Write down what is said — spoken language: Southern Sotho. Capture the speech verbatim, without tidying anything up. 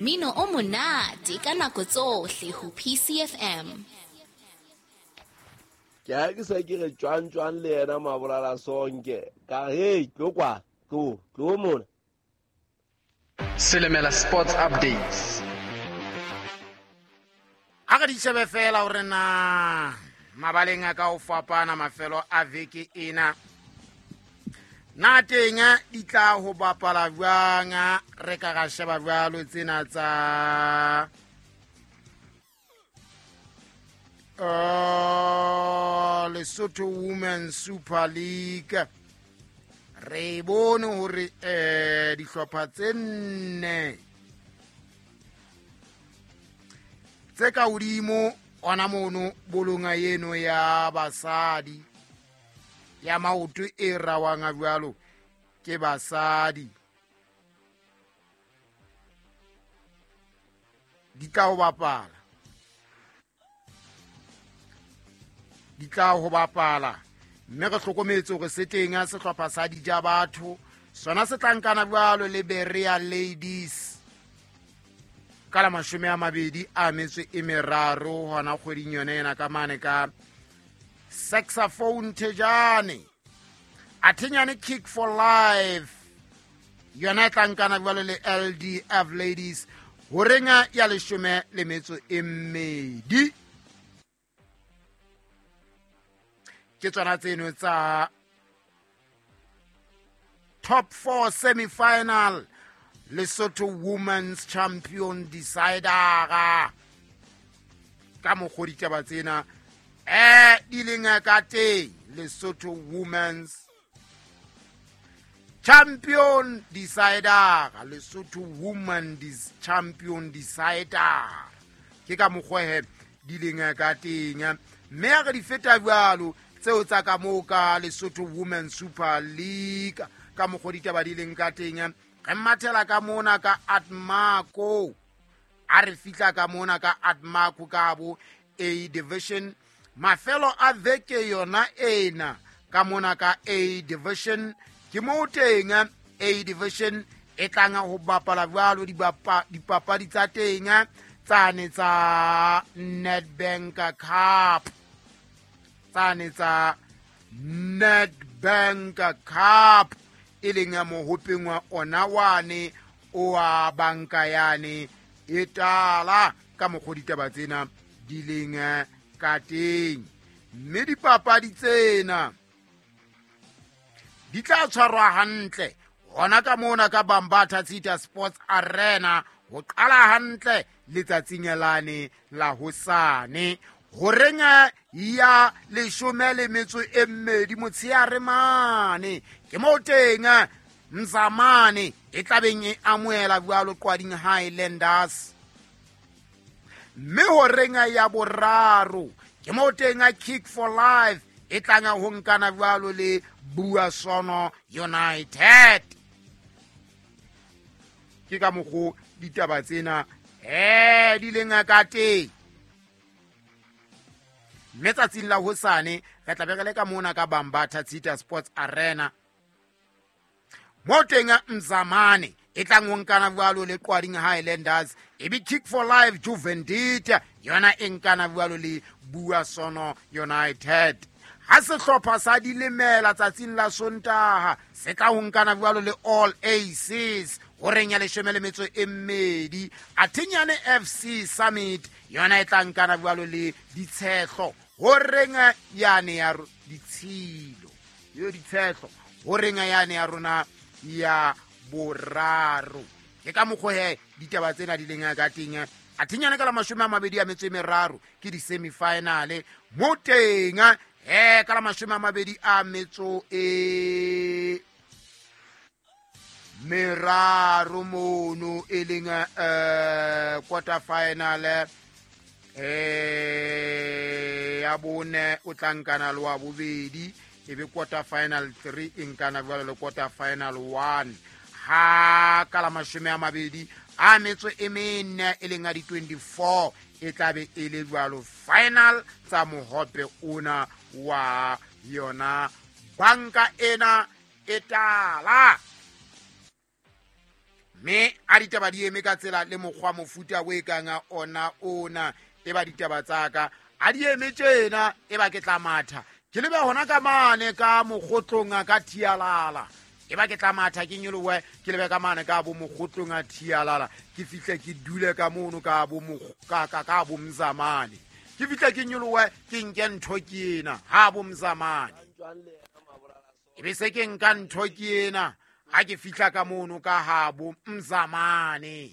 Mino o monate ka nako tsohle ho P C F M. Ke ha ke sa ke re tjwang tjwang le yena Mabolala Sonke. Ka hey, tlo kwa, tlo, tlo mona. Selemela Sports Updates. A re di shebe fela hore na mabaleng a ka ho fapana mafelo a veke ena. Na teng di tla ho bapala jwang, re ka ra sheba jwalo tsena tsa uh, Lesotho Women's Super League. Re bone hore eh dihlopha tse nne tse ka hodimo ona mono bolonga eno ya basadi ya maoto e rawang jwalo ke basadi di tla ho bapala di tla ho bapala mme re hlokometse hore se teng a sehlopha sa dija batho sona se tla nkana jwalo le Berea Ladies ka la mashome a mabedi a metso e meraro hona kgweding yone ena ka mane ka Saxophone Thejane. Athenyane Kick for Life yona e tla nkana jwalo le L D F Ladies horenga ya leshome le metso e mmedi. Ke tsona tseno tsa top four semi-final Lesotho Women's Champion Decider ka mokgwa ditaba tsena eh di leng ka teng. Lesotho Women's Champion Decider, Lesotho Women's Champion Decider ke ka mokgwa he di leng ka teng. Mme re di feta jwalo tseo tsa ka moo ka Lesotho Women's Super League ka mokgwa ditaba di leng ka teng. Re mathela ka mona ka Atmako, a re fihla ka mona ka Atmako ka bo A Division mafelo a veke yona ena ka mona ka A Division ke moo teng A Division e tlang ho bapala jwalo dipapadi tsa teng tsane tsa Nedbank Cup tsane tsa Nedbank Cup e leng ya mohopeng wa ona wane o wa banka yane e tala ka mokgwa ditaba tsena di leng ka teng. Mme dipapadi tsena di tla tshwarwa hantle hona ka mona ka Bambatha Theatre Sports Arena ho qala hantle letsatsing lane la hosane horeng ya leshome le metso e mmedi motsheare mane ke moo teng Mzamane e tlabeng e amohela jwalo Qwading Highlanders. Mme horeng ya boraro ke moo teng Kick for Life e tlanga ho nkana jwalo le Buasono United. Ke ka mokgo ditaba tsena eh di leng ka teng. Mme tsatsing la hosane re tla be re le ka mona ka Bambatha Theatre Sports Arena mo teng Mzamane e tlang ho nkana jwalo le Qwading Highlanders, e be Kick for Life Juvendit yona e nkana jwalo le Buasono United. Ha sehlopha sa Dilemela tsatsing la Sontaha se tla ho nkana jwalo le All Aces horeng ya leshome le metso e mmedi. Athenyane F C Summit yona e tla nkana jwalo le Ditshehlo horeng yane ya Ditshilo yo Ditshehlo horeng yane ya rona ya boraro. Ke ka mokgwa he ditaba tsena di leng ka teng. Athenyane ka la mashome a mabedi a metso e meraro ke di semi-final mo teng eh ka la mashome a mabedi a metso e meraro mono e leng eh quarter final eh ya bone o tla nkana le wa bobedi e be quarter final three e nkana jwalo le quarter final one. Ha ka la mashome a mabedi a metso e mene e leng a di twenty-four e tla be e le jwalo final tsa mohope ona wa yona banka ena e tala. Mme a A ditaba di eme ka tsela le mokgwa mofuta o e kang ona ona e ba ditaba tsa ka a di eme tjena e ba ke tla matha ke lebe hona ka mane ka mokgotlong a ka thialala e ba ke tla matha ke nyolowe ke lebe ka mane ka bo mokgotlong a thialala ke fihle ke dule ka mono ka bo ka ka ka bo mzamane ke fihle ke nyolowe ke nke ntho ke ena ha bo mzamane e be se ke nka ntho ke ena ha ke fihla ka mono ka ha bo mzamane.